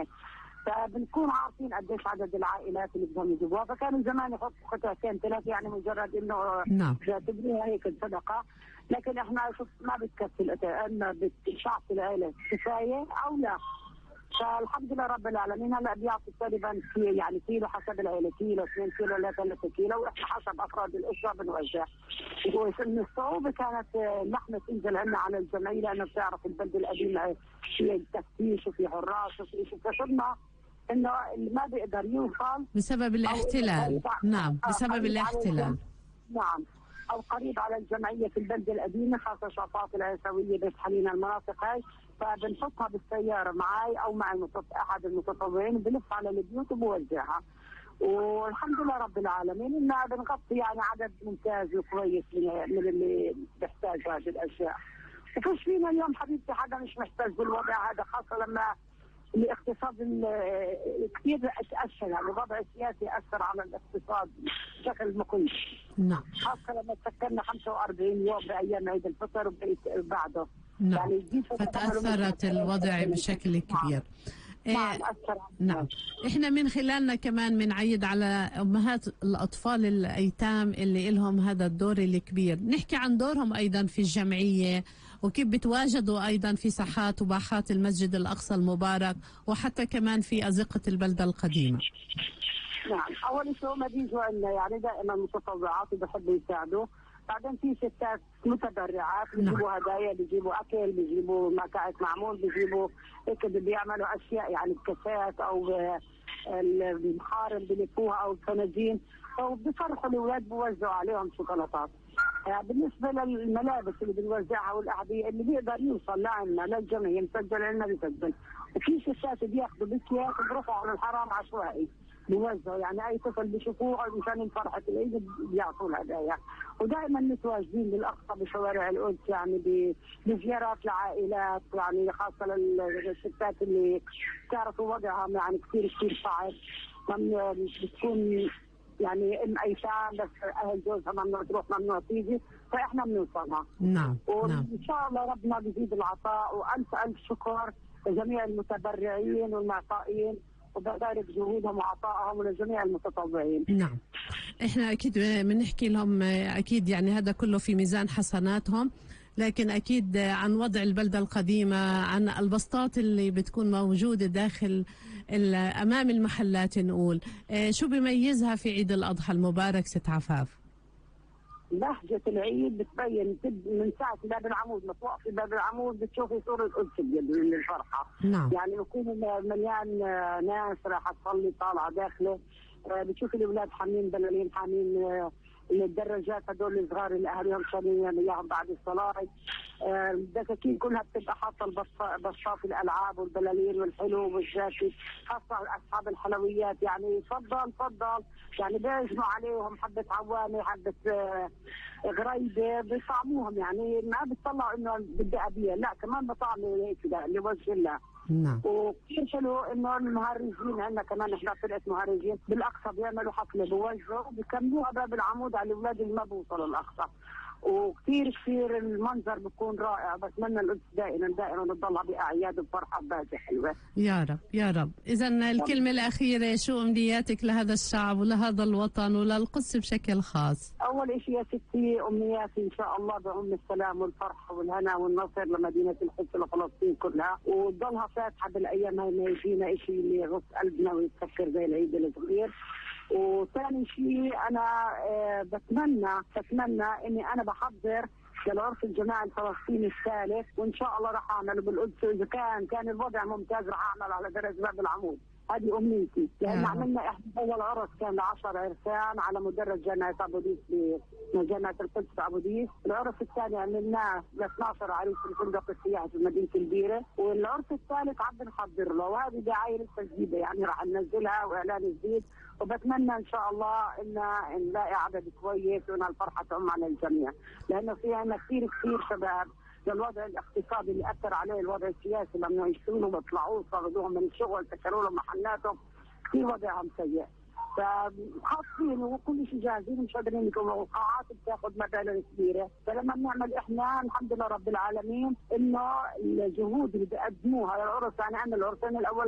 السنة، فبنكون عارفين قديش عدد العائلات اللي بدهم يجيبوها. فكانوا زمان يحطوا قطعتين ثلاثة يعني مجرد انه بيعتبروها هيك صدقة، لكن احنا شوف ما بتكفي القطع، اما بتشعب العيلة كفاية او لا. فالحمد لله رب العالمين هلا بيعطي تقريبا يعني كيلو حسب العيله، كيلو 2 كيلو لا 3 كيلو، واحنا حسب افراد الاسره بنوزع. ومن الصعوبه كانت اللحمه تنزل عنا على الجمعيه، لانه بتعرف البلد القديمه في تفتيش وفي حراس وفي شيء، فصرنا انه اللي ما بيقدر يوصل بسبب الاحتلال. نعم بسبب الاحتلال. نعم، او قريب على الجمعيه في البلد القديمه، خاصه شفاط العيسويه بيت حنين المناطق هاي، فبنحطها بالسياره معي او مع احد المتطوعين، بنلف على البيوت وبوزعها. والحمد لله رب العالمين انها بنغطي يعني عدد ممتاز وكويس من اللي بيحتاج هذه الاشياء. وفيش فينا اليوم حبيبتي حدا مش محتاج بالوضع هذا، خاصه لما الاقتصاد كثير تاثر، يعني الوضع السياسي اثر على الاقتصاد بشكل مخيف. نعم. خاصه لما سكرنا 45 يوم بايام عيد الفطر وبعده. نعم. يعني فتاثرت الوضع بشكل كبير. نعم. احنا من خلالنا كمان بنعيد على امهات الاطفال الايتام اللي لهم هذا الدور الكبير، نحكي عن دورهم ايضا في الجمعيه وكيف بتواجدوا ايضا في ساحات وباحات المسجد الاقصى المبارك وحتى كمان في ازقه البلده القديمه. نعم، اول شيء ما بيجوا لنا يعني دائما متطوعات وبحبوا يساعدوا، بعدين في ستات متبرعات بيجيبوا هدايا، بيجيبوا اكل، بيجيبوا مكعب معمول، بيجيبوا هيك بيعملوا اشياء يعني بكاسات او المحارم بلفوها او الفناجين، وبيفرحوا الاولاد بوزعوا عليهم شوكولاتات. بالنسبه للملابس اللي بنوزعها والاعبيه اللي بيقدر يوصل لعنا للجمعيه مسجل عنا بيسجل، وفي ستات بياخذوا بكيات وبروحوا على الحرام عشوائي بيوزعوا، يعني اي طفل بيشوفوه مشان فرحه العيد بيعطوا الهدايا. ودائما متواجدين بالاقصى بشوارع القدس يعني بزيارات لعائلات، يعني خاصه للستات اللي تعرفوا وضعها يعني كثير صعب، بتكون يعني ام ايتام بس اهل جوزها ممنوع تروح ممنوع تيجي، فاحنا بنوصلها. نعم. وان شاء الله ربنا بيزيد العطاء، والف الف شكر لجميع المتبرعين والمعطائين، وببارك جهودهم وعطائهم ولجميع المتطوعين. نعم، احنا اكيد بنحكي لهم اكيد يعني هذا كله في ميزان حسناتهم، لكن اكيد عن وضع البلده القديمه، عن البسطات اللي بتكون موجوده داخل امام المحلات، نقول شو بيميزها في عيد الاضحى المبارك ست عفاف؟ بهجة العيد بتبين من ساعة باب العمود، ما توقفي باب العمود بتشوفي صورة القدس من الفرحة. نعم. يعني يكون مليان ناس راح تصلي طالعة داخله، بتشوفي الأولاد حاملين بلالين، حاملين الدراجات هدول الصغار اللي أهلهم شارين إياهم بعد الصلاة. الدكاكين كلها بتبقى حاطة بساط الألعاب والبلالين والحلو والجاكي، خاصة أصحاب الحلويات يعني تفضل يعني بيجمعوا عليهم حبة عوامة حبة غريبة بيطعموهم، يعني ما بيطلعوا إنه بدي أبيع، لا كمان بطعموا هيك لوجه الله. نعم. وكثير حلو انه المهرجين عندنا كمان، احنا فرقه مهرجين بالاقصى بيعملوا حفله بوجهوا وبيكملوها باب العمود على الاولاد اللي ما بوصلوا الاقصى، وكثير المنظر بيكون رائع. بتمنى القدس دائما بتضلها باعياد وبفرحه وبهجه حلوه. يا رب يا رب. اذا الكلمه الاخيره، شو امنياتك لهذا الشعب ولهذا الوطن وللقدس بشكل خاص؟ اول شيء يا ستي امنياتي ان شاء الله بعم السلام والفرح والهنا والنصر لمدينه القدس ولفلسطين كلها، وتضلها فاتحه بالايام هاي، ما يجينا شيء اللي يغص قلبنا ويتفكر زي العيد الصغير. وثاني شيء انا بتمنى اني انا بحضر للعرس الجماعي الفلسطيني الثالث، وان شاء الله راح اعمله بالقدس، اذا كان الوضع ممتاز راح اعمل على درج باب العمود. هذه امنيتي، لان عملنا احنا اول عرس كان ل10 عرسان على مدرج جامعه ابو ديس بجامعه القدس ابو ديس، العرس الثاني عملناه ل12 عريس في الفندق السياحي في مدينه البيره، والعرس الثالث عم بنحضر له، وهذه دعايه لسه جديده يعني راح ننزلها واعلان جديد، وبتمنى ان شاء الله ان نلاقي عدد كويس وان الفرحه تعم على الجميع، لانه في عندنا كثير شباب للوضع الاقتصادي اللي اثر عليه الوضع السياسي، لما يشتغلوا ما بيطلعوش، صردوهم من الشغل، سكروا لهم محلاتهم، كثير وضعهم سيء. فحاطين وكل شيء جاهزين، مش قادرين يكونوا، القاعات بتاخذ مبالغ كبيره، فلما بنعمل احنا الحمد لله رب العالمين انه الجهود اللي بيقدموها للعرس، يعني عندنا العرسين الاول